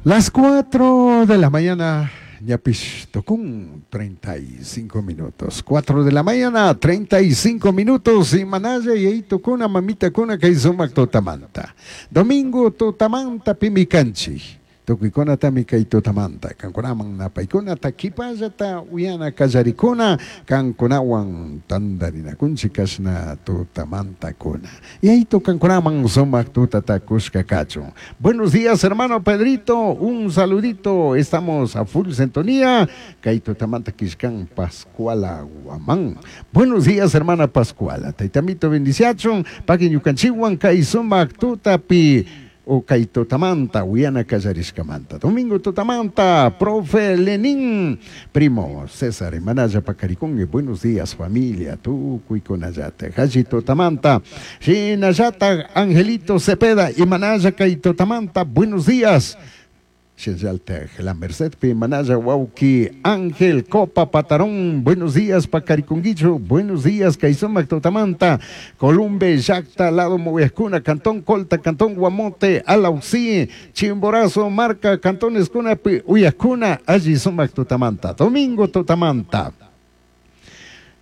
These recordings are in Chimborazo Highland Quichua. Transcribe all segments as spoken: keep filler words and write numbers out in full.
Las cuatro de la mañana, ñapish tucun treinta y cinco minutos. cuatro de la mañana, treinta y cinco minutos. Y manalla yayitokuna, mamitakuna, kay sumak tutamanta. Domingo tutamanta pimi kanchik. Tukuykunatami kay tutamanta kankunaman napaykunata kipallata uyana kallarikuna kankunawan tandarinakunchik kashna tutamantakuna. Yayito kankunaman sumak tutata kushka kachun. Buenos días, hermano Pedrito, un saludito, estamos a full sintonía. Kay tutamanta kishkan Pascuala Guamán. Buenos días, hermana Pascuala. Taytamito bendiciachun, pagui ñukanchikwan kay sumak tutapi o kay tutamanta uyana kallarishkamanta. Domingo tutamanta, profe Lenin, primo César, Manaya Pacaricongue, buenos días, familia, tukuykunallata, Haji tutamanta, Shinallata, Angelito Cepeda, y Manaya kay tutamanta, buenos días. Shinaltaj La Merced pi Manaya wauki Ángel Copa Patarón, buenos días, Pacariconguicho, buenos días, kay sumak tutamanta, Columbe, Yacta, Lado Moviascuna, Cantón Colta, Cantón Guamote, Alaucí, Chimborazo, Marca, Cantón Escuna, Uyascuna, alli sumak tutamanta, Domingo tutamanta.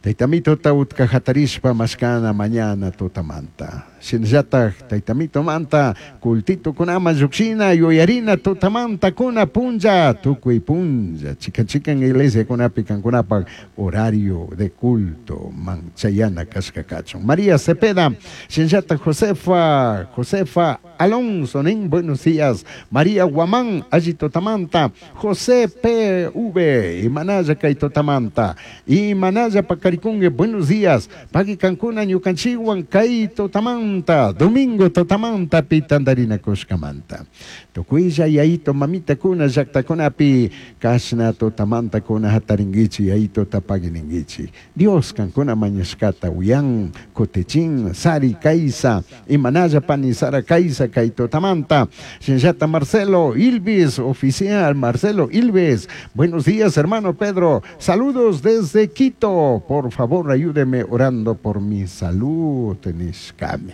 Taytamito utka hatarishpa mashkana mañana tutamanta. Shinallatak taytamito manta cultito kunama llukshina yuyarina tutamanta kuna punlla tukuy punlla chikan chikan iglesia kunapi kankunapak horario de culto man chayana kashka kachun. María Cepeda, shinallatak Josefa, Josefa Alonso, nin buenos días. María Guamán, alli tutamanta, José P V, imanalla kay tutamanta, imanalla pacarikungue, buenos días. Pagui kankuna ñukanchikwan kay tutamanta, domingo tutamanta pitandarina kushkamanta. Tukuylla yayito mamita kuna llaktakunapi kashna tutamanta kuna hataringuichi yayito tapagininguichi. Dios kankuna mañashkata uyan kutichin. Sari Kaisa, imanalla pani Sara Kaisa kay tutamanta. Shinllata Marcelo Ilvis, oficial Marcelo Ilves. Buenos días, hermano Pedro. Saludos desde Quito. Por favor, ayúdeme orando por mi salud. Nishkami.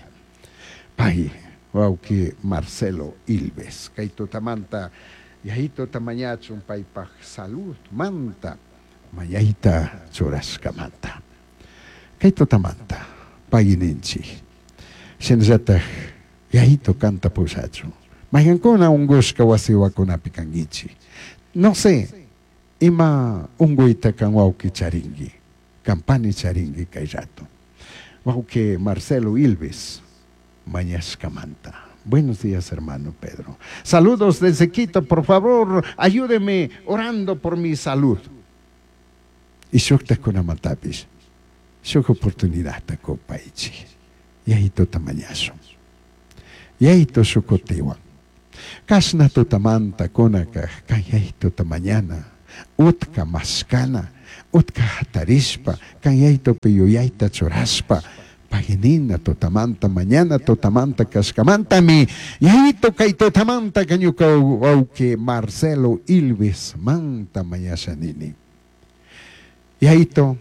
Pay, wauki Marcelo Ilves. Kay tutamanta, yayito tamañachun paypaj salud manta, mañayta churashkamanta. Kay tutamanta, pagui ninchi. Shinallataj yayito kanta pushachun. Mayqankuna ungushka wasiwakunapi kankichik. No sé, ima unguyta kan wawki charinki, kampani charinki kay rato. Wawki Marcelo Ilves, mañashkamanta. Buenos días, hermano Pedro. Saludos desde Quito, por favor, ayúdeme orando por mi salud. Y shuktakunamantapish, shuk oportunidad kupaychik. Yayituta mañashun. Yayito shukutiwan. Kashna tutamanta kunaka kay yayituta mañana. Utka mashkana, utka hatarishpa, kan yayitupi yuyayta churashpa, paginina tutamanta mañana tutamanta kashkamantami yayito kay tutamanta kañuka wawki Marcelo Ilves manta mañasha nini. Yayito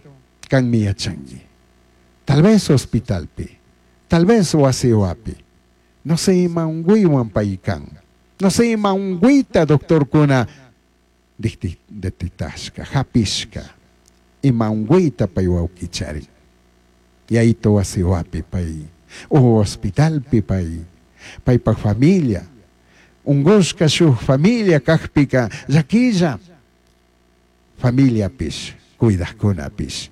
kanmi yachanki. Tal vez hospitalpi, tal vez wasiwapi. No sé ima unguywan paykan. No sé ima unguyta doctor kuna detectashka, hapishka. Ima unguyta pay wawki charin. Yayito wasiwapi pay, o hospitalpi pay, paypak familia. Ungushka shuk familia kakpika llakilla. Familiapish, cuidajkunapish.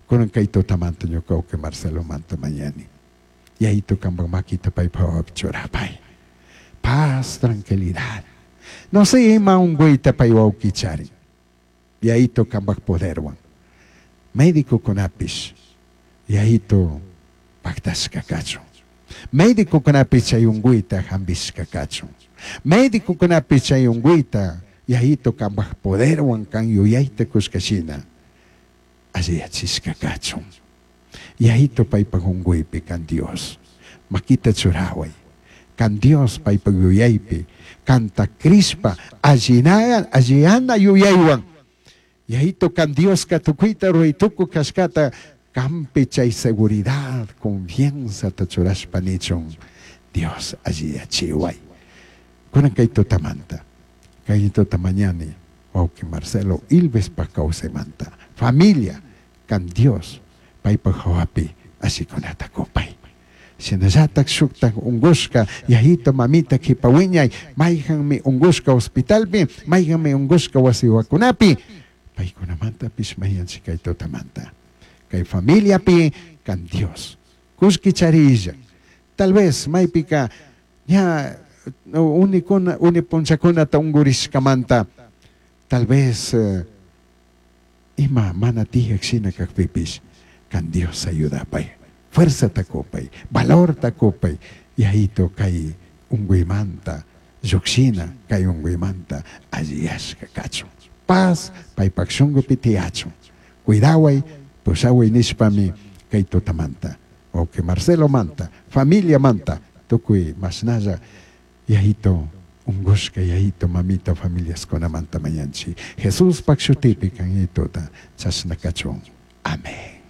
Kunan kay tutamanta ñuka wawki Marcelo manta mañani. Yayito kampak makita paypak churapay. Paz, tranquilidad. No sé ima unguyta pay wawki charin. Yayito kampak poderwan. Médico kunapish. Yayito paktashka kachun. Médico kunapish chay unguyta hambishka kachun. Médico kunapish chay unguyta yayito kampak poderwan kan yuyayta kushkashina alliyachishka kachun. Yayito paypak unguypi kan Dios. Makita churaway. Kan Dios paypak yuyaypi kanta crishpa allina alliyana yuyaywan. Yayito kan Dioska tukuyta ruray tukuj kashkata kampi chay seguridad, confianza ta churashpa nichun. Dios alliyachiway. Kunan kay tutamanta. Kay tuta mañani wawqi Marcelo Ilvespa kawsaymanta familia kan Dios paypak hawapi ashikunata kupay. Shinallatak shuktak ungushka yayito mamita kipa wiñay mayjanmi ungushka hospitalpi mayjanmi ungushka wasiwakunapi paykunamantapish mañanchik kay tutamanta kay familiapi kan Dios kullki charilla tal vez maypika ña unikuna uni punchakunata ungurishkamanta tal vez eh, ima mana tiyak shina kakpipish kan Dios ayudapay fuerza kupay valorta kupay yayito kay unguymanta llukshina kay unguymanta alliyashka kachun paz paypak shunkupi tiyachun cuidaway pushaway nishpami kay tutamanta wawqi Marcelo manta familia manta tukuy mashnalla yayito ungushka yayito mamita familiaskunamanta mañanchik Jesuspak shutipi kan yayituta chashna kachun amén.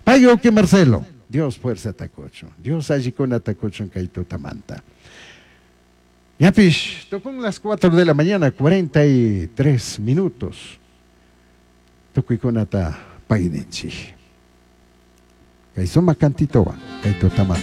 Pay wawqi Marcelo Dios fuerzata kuchun Dios allikunata kuchun kay tutamanta. Ñapish tukun las cuatro de la mañana cuarenta y tres minutos. Tukuykunata payninchik kay sumak cantitowan kay tutamanta.